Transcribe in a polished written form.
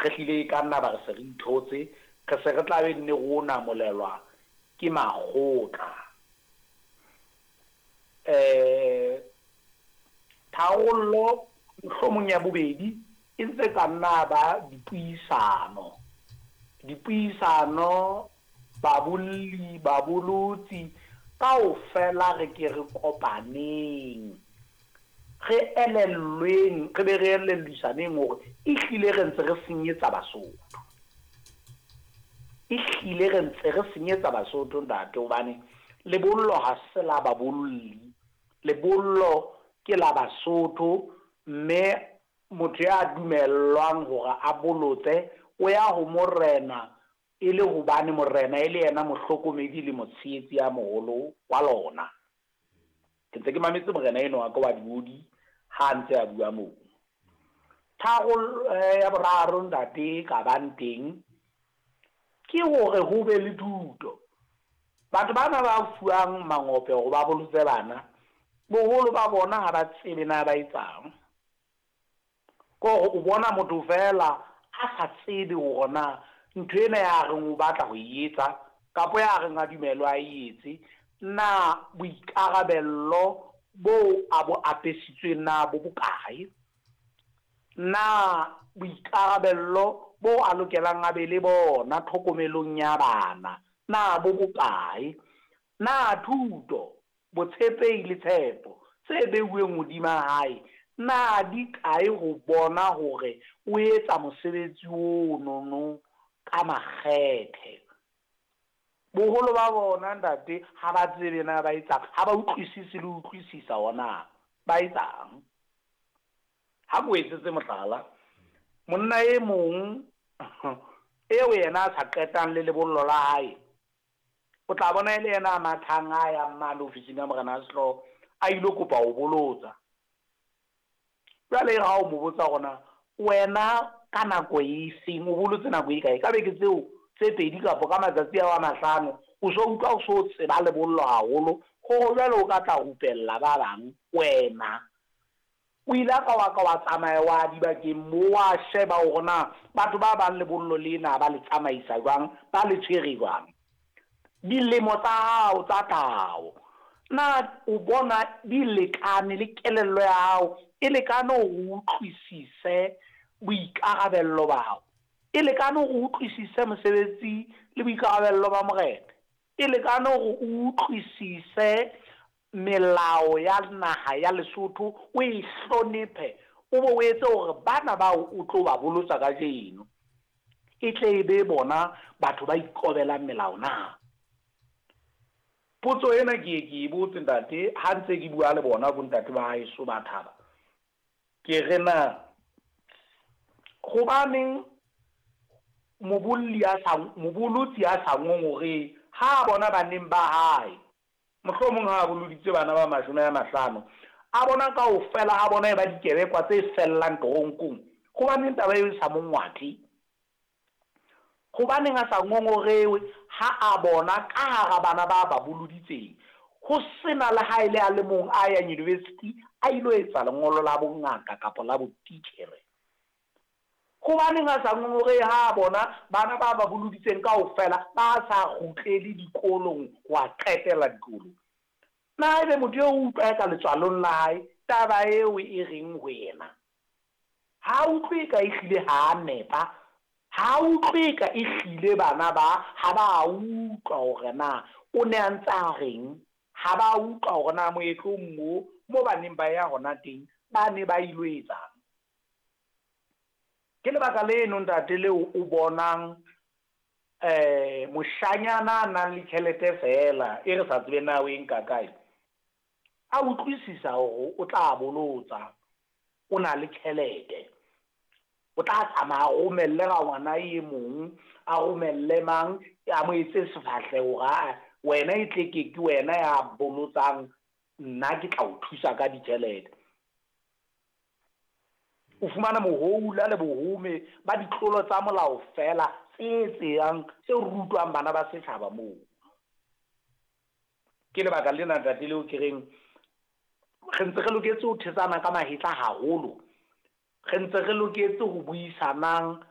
Re hlile e ka nna ba re se re ithotse, re se re tla be nne re o namolelwa ke makgotla. Tharollo mohlomong ya bobedi e ntse ka nna ba dipuisano. Dipuisano, babolli, babolotsi, kaofela re ke re kopaneng, re elellweng, re be re elellisaneng hore ehlile re ntse re senyetsa Basotho. Ehlile re ntse re senyetsa Basotho, ntate, hobane lebollo ha se la babolli, lebollo ke la Basotho, mme motho ya dumellwang hore a bolotse o ya ho morena e le hobane morena e le yena mohlokomedi le motshehetsi ya moholo wa lona. Ke ntse ke mametse morena eno wa ka wa Diodi ha a ntse a bua moo. Tharo ya boraro, ntate, ka bang teng ke hore ho be le thuto. Batho bana ba fuwang mangope hore ba bolotse bana, boholo ba bona ha ba tsebe na ba etsang. Ke hore o bona motho feela a sa tsebe hore na ntho ena ya reng o batla ho e etsa kapa ya reng a dumelwe a e etse, na boikarabello bo a bo apesitsweng na bo bokae? Na boikarabello bo a lokelang a be le bona tlhokomelong ya bana na bo bokae? Na thuto, botshepehi le tshepo tse beuweng hodima hae na di kae ho bona hore o etsa mosebetsi ono ka makgethe? Boholo ba bona, ntate, ha ba tsebe na ba etsang, ha ba utlwisise le utlwisisa hore na ba etsang. Ha ke o etsetse mohlala, monna e mong eo yena a sa qetang le lebollo la hae, o tla bona e le yena a mathang a yang mane ofising ya morena wa sehlooho a ilo kopa ho bolotsa. Jwale ha o mo botsa hore na wena ka nako e feng o bolotse nako e kae, ka beke tseo tse pedi kapa ka matsatsi ao a 5, o so utlwa o so tseba lebollo haholo hore jwale o ka tla rupella ba bang. Wena o ile ka wa ka wa tsamaya wa dibakeng mo wa sheba hore na batho ba bang lebollo lena ba le tsamaisa jwang, ba le tshwere jwang? Dilemo tsa hao tsa tlhaho na o bona di lekane le kelello ya hao e lekane hore o utlwisise boikarabello ba hao? E lekane hore o utlwisise mosebetsi le boikarabello ba morena? E lekane hore o utlwisise melao ya naha ya Lesotho, o e hlonephe, o bo o etse hore bana bao o tlo ba bolotsa kajeno e tle e be bona batho ba ikobelang melao na? Potso ena ke ye ke e botse, ntate, ha ntse ke bua le bona bontate ba haeso ba thaba. Ke re na hobaneng mobolli a sa mobolotsi a sa ngongorehe ha a bona baneng ba hae, mohlomong ha a boloditse bana ba 50, a bona kaofela ha bona e ba dikebekwa tse fellang toronkong? Hobaneng taba eo e sa mo ngwathe? Hobaneng a sa ngongorewe ha a bona ka hara bana ba ba boloditseng ho sena le ha e le a le mong a yang university a ilo etsa lengolo la bongaka kapa la botitjhere? Hobaneng a sa ngongorehe ha a bona bana ba ba boloditseng kaofela ba sa kgutlele dikolong ho a qetela dikolo? Na ebe motho eo o utlwa eka letswalong la hae taba eo e reng ho yena? Ha utlwe ka ehlile ha a nepa, ha utlwe ka ehlile bana ba ha ba utlwa hore na o ne a ntse a reng, ha ba utlwa hore na moetlong mo ba neng ba ya hona teng ba ne ba ilo etsang. Ke lebaka leno, ntate, leo o bonang moshanyana a nang le tjhelete feela e re sa tsebe na o e nka kae, a utlwisisa hore o tla bolotsa, o na le tjhelete, o tla tsamaya a romelle rangwana e mong, a romelle mang, a mo etse sefahleho hore aa wena e tle ke wena ya bolotsang, nna ke tla o thusa ka ditjhelete. O fumana mohoula le bohome ba ditlolo tsa molao feela tse tseyang tse rutwang bana ba setjhaba moo. Ke lebaka lena, ntate, leo ke reng re ntse re loketse ho thetsana ka mahetla haholo, re ntse re loketse ho buisanang.